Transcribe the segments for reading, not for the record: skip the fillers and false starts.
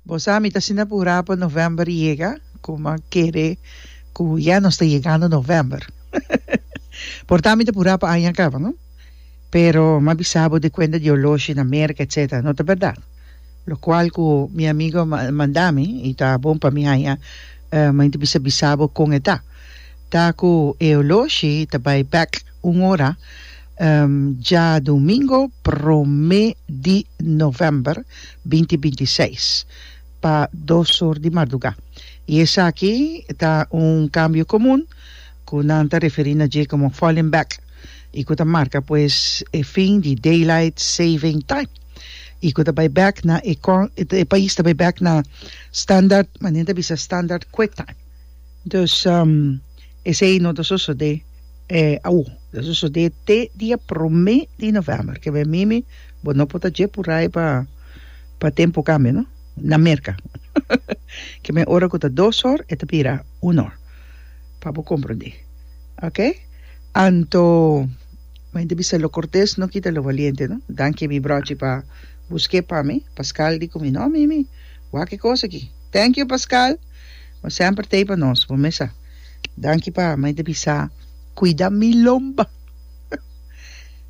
Bo sa mi ta asina purá pa novèmber yega ku mi a kere ku ya nos ta yegando novèmber. Por ta mi ta purá pa aña kaba no. Pero mi a bisa bo di kuenta di oloshi na Merka etcetera no ta bèrdat. Lokual ku mi amigo a manda mi i ta bon pa mi haña mi ta bisa bisa bo kon e ta. Ta ku e oloshi ta bai bèk un ora Djadumingo prome di november binti binti seis pa dos or di marduga y esaki ta un cambio comun cu nan ta referi na dje como falling back y cu ta marca pues e fin di daylight saving time y cu ta bay bek na e e pais ta bay bek na standard manera ta bisa standard quick time dus esey no ta sosode. E awo, ta sosodé te dia promé di novèmber. Ke men mimi, bo no por ta dje purai pa pa tempu kambia no, na Merka. Ke men ora ku ta dos or, e ta bira un or. Pa bo komprondé. Oke? Anto, men ta bisa lo kortes no kita lo valiente no. Danki mi brochi pa busk'é pa mi. Pascal di ku mi, no mimi, wak e kos aki. Thank you Pascal. Bo semper t'ei pa nos, bo mes sa. Danki pa mai ta bisa cuida mi lomba.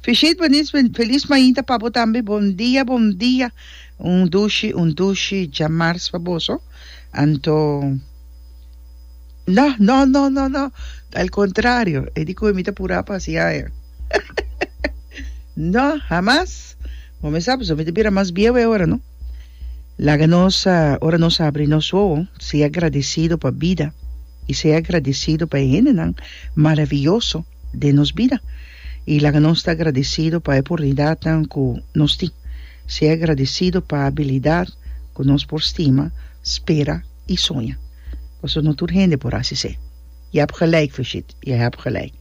Fishit Benis feliz mainta pa bo tambe bon dia bon dia un dushi un dushi djamars pa boso anto no no no no no al contrario e di cu mi ta pura pa haci aña no hamas bo me sa pasobra mi ta bira mas bieu e ora no Laga nos, ora nos habri nos wowo, sea agradecido pa bida i sea agradecido pa e hendenan maraviyoso den nos bida. I laga nos ta agradecido pa e oportunidadnan cu nos tin. Sea agradecido pa abilidad cu nos por stima, spera i soña. Pasobra no tur hende por haci esey. Je hebt gelijk, Fishit, je hebt gelijk.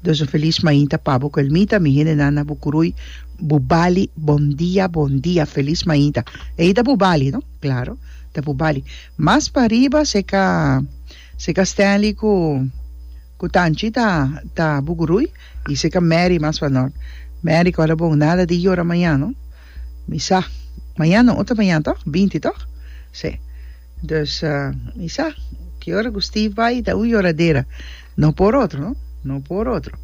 Dus un felis mainta pa bo Kelmita, mi hendenan na Bucuruy, Bubali, bon dia, bon dia, felis mainta. Ey ta Bubali, no? Claro, ta Bubali. Mas pa riba seca, seca Stanley cu, cu Tanchi ta, ta Bucuruy y seca Mary mas pa nort. Mary cu ora bon, nada di yora mañan, no? Mi sa, mañan no, otro mañan toch? Binti toch? Sí. Dus, mi sa, ki ora ku Steve bai ta un yoradera. No por otro, no? No por otro.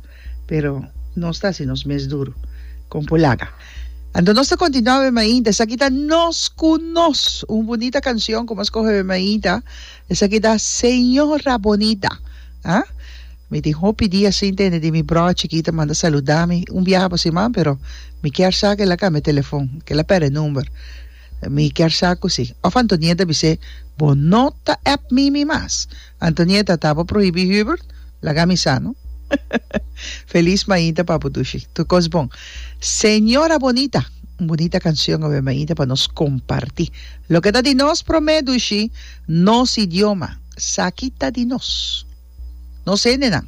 Pero nos ta hasi nos mes duru kon por laga. Anto nos ta kontinuá be mainta. Esaki ta Nos ku Nos, un bunita kanshon ku mi a skohe be mainta. Esaki ta Señora Bonita. Ah? Mi tin hopi dia sin tende di mi bròder chikito manda saludá mi un biaha pa siman, pero mi kier sa ku el a kambia telefon, ku el a pèrdè number. Mi kier sa cu si. Of Antonieta bis'é, Bo no ta app Mimi mas. Antonieta, ta bo prohibi Hubert? Laga mi sa, no? Feliz mainta papu dushi. Tur cos bon. Señora Bonita, un bunita cancion awe mainta pa nos comparti. Loke ta di nos prome dushi, nos idioma. Saki ta di nos. Nos hendenan.